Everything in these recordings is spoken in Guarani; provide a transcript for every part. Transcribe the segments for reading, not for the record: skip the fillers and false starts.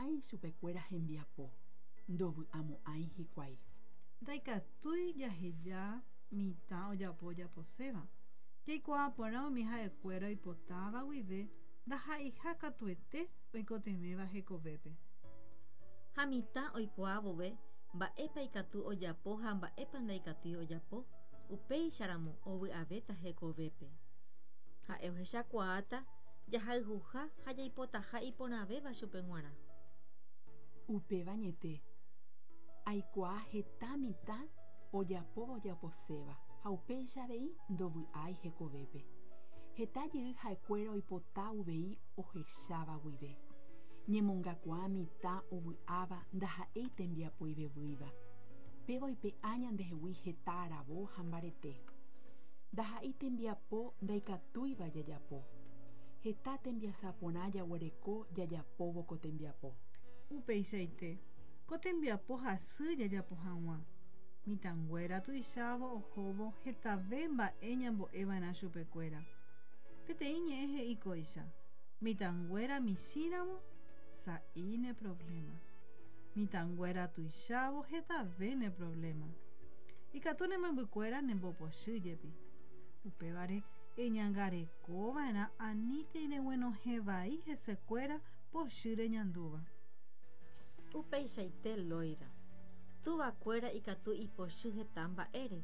Ndojejapomo'ãi chupekuéra hembiapo, ndovy'amo'ãi hikuái. Ndaikatúi jaheja mitã ojapo ojaposéva. Jaikuaa porã umi ha'ekuéra oipotáva guive ndaha'eiha katuete oikotevẽva hekovépe. Ha mitã oikuaa vove mba'épa ikatu ojapo ha mba'épa ndaikatúi ojapo, upéicharamo ovy'avéta hekovépe. Ha'e ohechakuaáta jahayhuha ha jaipotaha iporãvéva chupe g̃uarã. Upéva añete, aikuaa heta mitã ojapóva ojaposéva ha upéicha avei ndovy'ái hekovépe. Heta jey ha'ekuéra oipota uvei ohecháva guive. Ñemongakuaa mitã ovy'áva ndaha'éi tembiapo ivevýiva. Péva oipe'a ñandehegui heta aravo ha mbarete. Ndaha'éi tembiapo ndaikatúiva jajapo. Heta tembiasa porã jaguereko jajapóvo ko tembiapo. Upeichaite, ko tembiapo hasy jajapo hag̃ua. Mitãnguéra tuichávo ohóvo hetave mba'e ñambo'eva'erã chupekuéra. Peteĩ ñe'ẽ he'i kóicha, Mitãnguéra michĩramo, sa'i ne problema. Mitãnguéra tuichávo hetave ne problema. Ikatu ne membykuéra nembopochy jepi. Upévare eñangarekova'erã anítei reguenohẽ vai hesekuéra pochy reñandúva. Upeichaite Loida. Tuvakuéra ikatu ipochy heta mba'ére,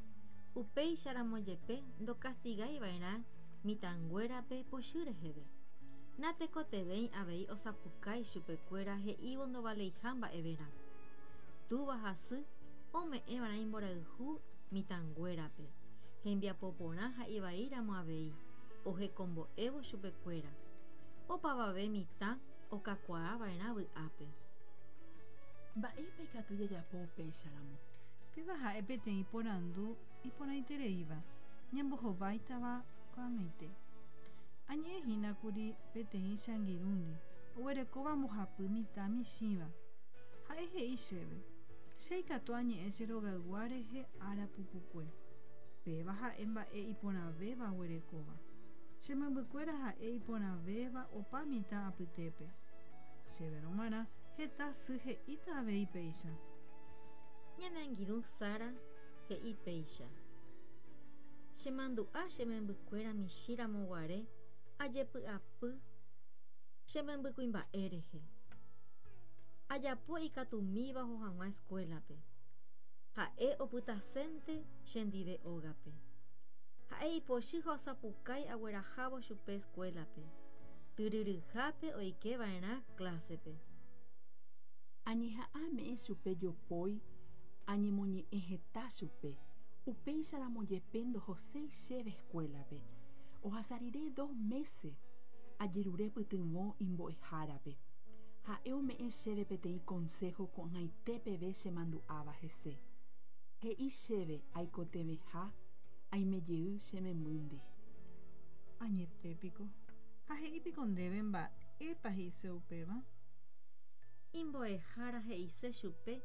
upéicharamo jepe ndokastigaiva'erã mitãnguérape pochy reheve. Natekotevẽi avei osapukái chupekuéra he'ívo ndovaleiha mba'everã. Túva ha sy ome'ẽva'erã imborayhu mitãnguérape, hembiapo porã ha ivaíramo avei, ohekombo'évo chupekuéra. Opavave mitã okakuaava'erã vy'ápe. Mba'épa ikatu jajapo upéicharamo? Péva ha'e peteĩ porandu iporãitereíva ñambohováitava ko'ag̃aite. Añe'ẽ hína kuri peteĩ che angirũndi oguerekóva mbohapy mitã michĩva. Ha'e he'i chéve, Che ikatu añe'ẽ che rogaygua rehe ára pukukue. Péva ha'e mba'e iporãvéva aguerekóva. Che membykuéra ha'e iporãvéva opa mitã apytépe. Chéverõ g̃uarã heta sy he'íta avei péicha. Ñane angirũ Sara he'i péicha, Chemandu'a che membykuéra michĩ ramo guare ajepy'apy che membykuimba'e rehe. Ajapo ikatumíva oho hag̃ua eskuélape. Ha'e opytasénte chendive ógape. Ha'e ipochy ha osapukái aguerahávo chupe eskuélape. Tyryryhápe oike va'erã klásepe. Añeha'ã ame'ẽ chupe jopói, añemoñe'ẽ heta chupe, upéicharamo jepe ndohoséi chéve eskuélape. Ohasa rire dos mése, ajerure pytyvõ imbo'ehárape. Ha'e ome'ẽ chéve peteĩ konsého ko'ag̃aite peve chemandu'áva hese. He'i chéve aikotevẽha aime jey che membýndi. Añete piko. Ha he'i piko ndéve mba'épa he'ise upéva? Imbo'ehára he'ise chupe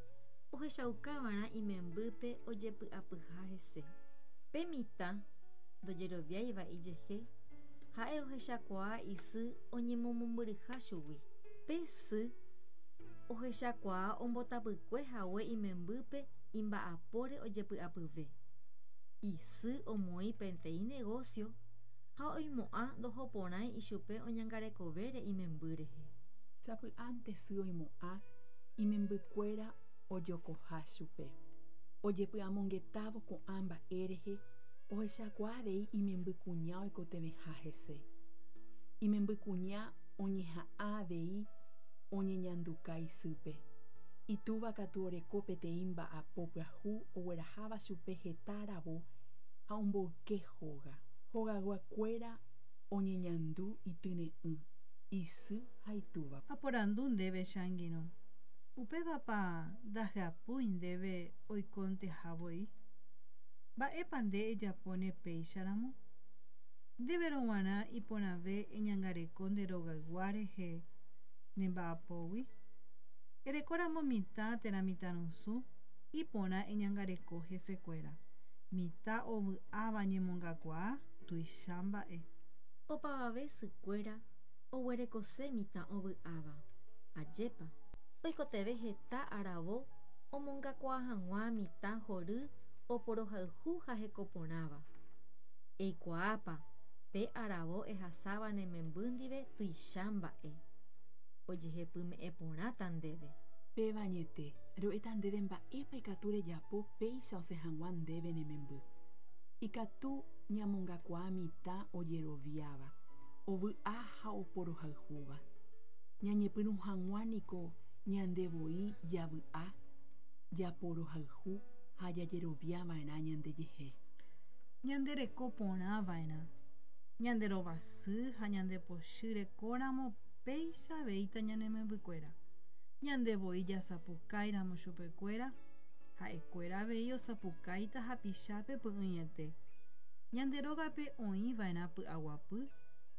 ohechaukava'erã imembýpe ojepy'apyha hese. Pe mitã ndojeroviáiva ijehe, ha'e ohechakuaa isy oñemomombyryha chugui. Pe sy ohechakuaa ombotapykue hague imembýpe imba'apóre ojepy'apyve. Isy omoĩ peteĩ negósio ha oimo'ã ndohoporãi ichupe oñangarekovére imemby rehe. Sapy'ánte sy oimo'ã imembykuéra ojokoha chupe. Ojepy'amongetávo ko'ã mba'e rehe ohechakuaa avei imembykuña oikotevẽha hese. Imembykuña oñeha'ã avei oñeñanduka isýpe. Itúva katu oreko peteĩ mba'apo pyahu ogueraháva chupe heta aravo ha omboyke hóga. Hogayguakuéra oñeñandu ityre'ỹ, isy ha itúvape. Aporandu ndéve che angirũ. Upévapa ndahyapúi ndéve oikonteha voi? Mba'épa nde ejapóne péicharamo? Ndéverõ g̃uarã iporãve eñangareko nde rogaygua rehe ne mba'apógui? Erekóramo mitã térã mitãrusu, iporã eñangareko hesekuéra. Mitã ovy'áva ñemongakuaa tuicha mba'e. Opavave sykuéra oguerekose mitã ovy'áva. Ajépa. Oikotevẽ heta aravo omongakuaa hag̃ua mitã hory oporohayhu ha hekoporãva. Eikuaápa pe aravo ehasáva ne memby ndive tuicha mba'e. Ojehepyme'ẽ porãta ndéve. Péva añete, ro'éta ndéve mba'épa ikatu rejapo péicha osẽ hag̃ua ndéve ne memby. Ikatu ñamongakuaa mitã ojeroviáva, ovy'a ha oporohayhúva. Ñañepyrũ hag̃ua niko ñande voi javy'a, japorohayhu ha jajeroviava'erã ñandejehe. Ñande reko porã va'erã. Ñande rovasy ha ñande pochy rekóramo péicha aveíta ñane membykuéra. Ñande voi jasapukáiramo chupekuéra, ha'ekuéra avei osapukáita hapichápe py'ỹiete. Ñande rógape oĩva'erã py'aguapy,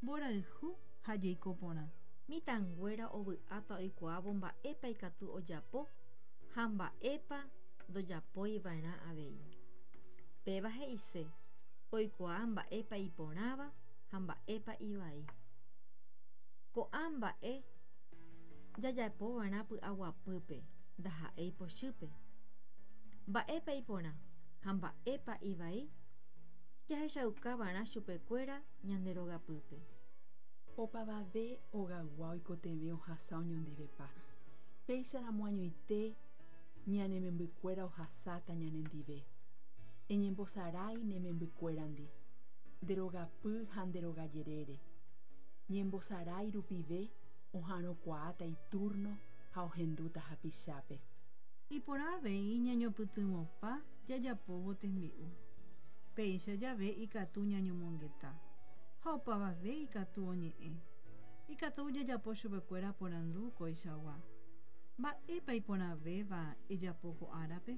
mborayhu ha jeiko porã. Mitãnguéra ovy'áta oikuaávo mba'épa ikatu ojapo ha mba'épa ndojapoiva'erã avei. Péva he'ise oikuaa mba'épa iporãva ha mba'épa ivai. Ko'ã mba'e jajapova'erã py'aguapýpe, ndaha'éi pochýpe. Mba'épa iporã ha mba'épa ivai jahechaukava'erã chupekuéra ñande rogapýpe. Opavave ogaygua oikotevẽ ohasa oñondivepa. Péicharamo añoite ñane membykuéra ohasáta ñanendive. Eñembosarái ne membykuérandi, nde rogapy ha nde rogajerére. Ñembosarái rupive oha'arõkuaáta itúrno ha ohendúta hapichápe. Iporã avei ñañopytyvõpa jajapóvo tembi'u. Péicha jave ikatu ñañomongeta, ha opavave ikatu oñe'ẽ. Ikatu jajapo chupekuéra porandu koichagua, Mba'épa iporãvéva ejapo ko árape?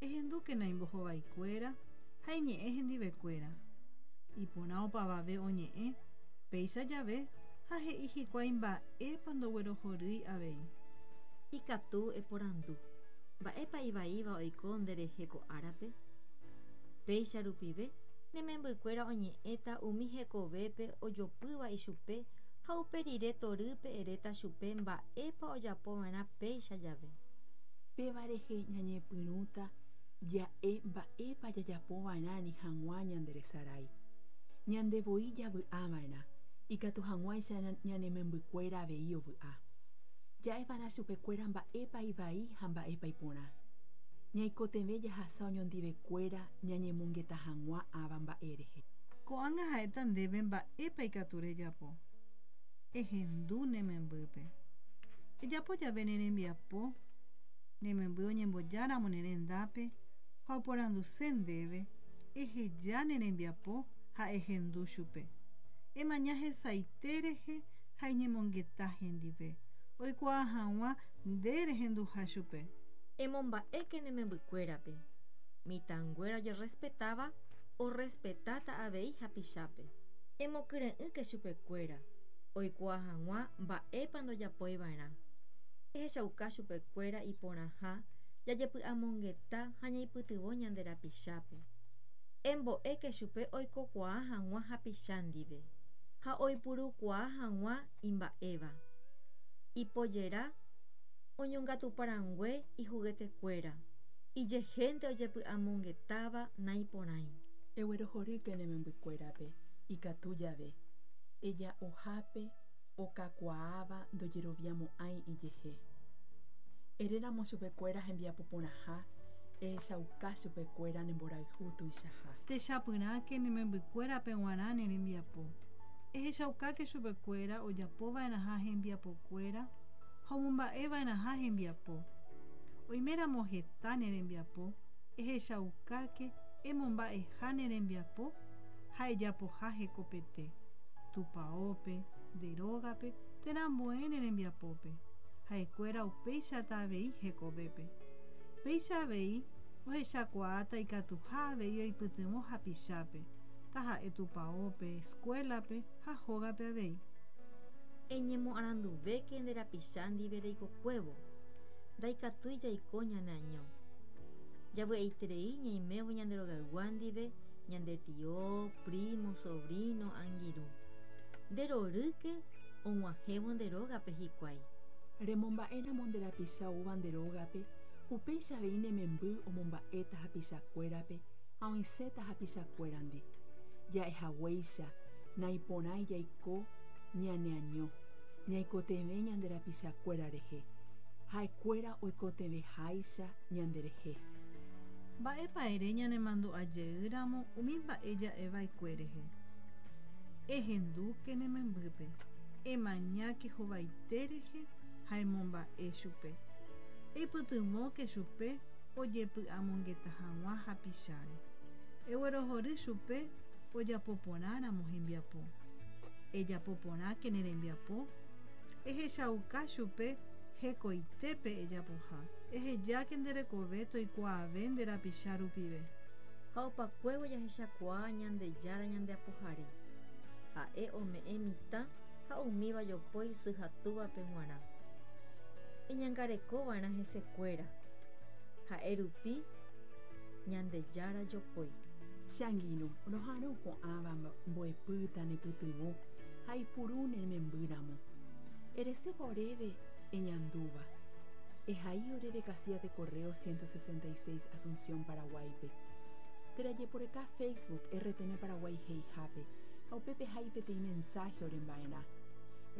Ehendúkena imbohovaikuéra ha eñe'ẽ hendivekuéra. Iporã opavave oñe'ẽ péicha jave ha he'i hikuái mba'épa ndoguerohorýi avei. Ikatu eporandu, Mba'épa ivaíva oiko nderehe ko árape? Péicha rupive, ne membykuéra oñe'ẽta umi hekovépe ojopýva ichupe ha upe rire torýpe eréta chupe mba'épa ojapova'erã péicha jave. Péva rehe ñañepyrũta ja'e mba'épa jajapova'erã ani hag̃ua ñanderesarái. Ñande voi javy'ava'erã, ikatu hag̃uáicha ñane membykuéra avei ovy'a. Ja'eva'erã chupekuéra mba'épa ivai ha mba'épa iporã. Ñaikotevẽ jahasa oñondivekuéra ñañemongeta hag̃ua ãva mba'e rehe. Ko'ág̃a ha'éta ndéve mba'épa ikatu rejapo. Ehendu ne membýpe. Ejapo jave ne rembiapo, ne memby oñembojáramo ne rendápe ha oporanduse ndéve, eheja ne rembiapo ha ehendu chupe. Emaña hesaite rehe ha eñemongeta hendive, oikuaa hag̃ua nde rehenduha chupe. Emomba'éke ne membykuérape. Mitãnguéra ojerrespetáva orrespetáta avei hapichápe. Emokyre'ỹke chupekuéra, oikuaa hag̃ua mba'épa ndojapoiva'erã. Ehechauka chupekuéra iporãha jajepy'amongeta ha ñaipytyvõ ñande rapichápe. Embo'éke chupe oikokuaa hag̃ua hapicha ndive ha oipurukuaa hag̃ua imba'éva. Ipojera oñongatuparangue ihugetekuéra, ijehénte ojepy'amongetáva naiporãi. Eguerohorýke ne membykuérape, ikatu jave, eja'ohápe okakuaáva ndojeroviamo'ãi ijehe. Eréramo chupekuéra hembiapo porãha, ehechauka chupekuéra ne mborayhu tuichaha. Techapyrãke ne membykuérape g̃uarã ne rembiapo. Ehechaukáke chupekuéra ojapova'erãha hembiapokuéra ha omomba'eva'erãha hembiapo. Oiméramo heta ne rembiapo, ehechaukáke emomba'eha ne rembiapo ha ejapoha hekopete, tupaópe, nde rógape térã ambue ne rembiapópe. Ha'ekuéra upéichata avei hekovépe. Péicha avei ohechakuaáta ikatuha avei oipytyvõ hapichápe, taha'e tupaópe, escuela-pe ha hógape avei. Eñemoaranduvéke nde rapicha ndive reikokuévo. Ndaikatúi jaiko ñaneaño. Javy'aiterei ñaimévo ñande rogaygua ndive, ñande tio, primo, sobrino, angirũ. Nde rorýke og̃uahẽvo nde rógape hikuái. Remomba'éramo nde rapicha oúva nde rógape, upéicha avei ne memby omomba'éta hapichakuérape ha oĩséta hapichakuérandi. Ja'ehaguéicha, naiporãi jaiko ñaneaño, ñaikotevẽ ñande rapichakuéra rehe, ha'ekuéra oikotevẽháicha ñanderehe. Mba'épa ere ñanemandu'ajeýramo umi mba'e ja'eva'ekue rehe. Ehendúke ne membýpe, emañáke hovaite rehe ha emomba'e chupe. Eipytyvõke chupe ojepy'amongeta hag̃ua hapicháre. Eguerohory chupe ojapoporãramo hembiapo. Ejapoporãke ne rembiapo, ehechauka chupe hekoitépe ejapoha. Ehejáke nde rekove toikuaave nde rapicha rupive. Ha opakuévo jahechakuaa Ñandejára ñandeapohare. Ha'e ome'ẽ mitã ha umíva jopói sy ha túvape g̃uarã. Eñangarekova'erã hesekuéra. Ha'e rupi Ñandejára jopói. Che angirũ, roha'arõ ko'ãva mbo'epýta nepytyvõ ha eipuru ne membýramo. Eresépa oréve eñandúva. Ehai oréve casilla de correo 166 Asunción, Paraguáipe. Térã ejeporeka Facebook RTM Paraguay he'ihápe ha upépe ehai peteĩ mensaje oremba'erã.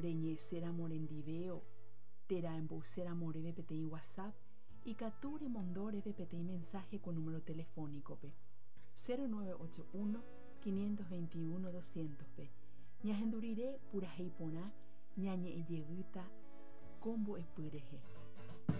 Reñe'ẽséramo orendive térã emboyséramo oréve peteĩ WhatsApp, ikatu remondo oréve peteĩ mensaje ko número telefónico-pe, 0981 521 200-pe. Ñahendu rire purahéi porã ñañe'ẽ jevýta ko mbo'epy rehe.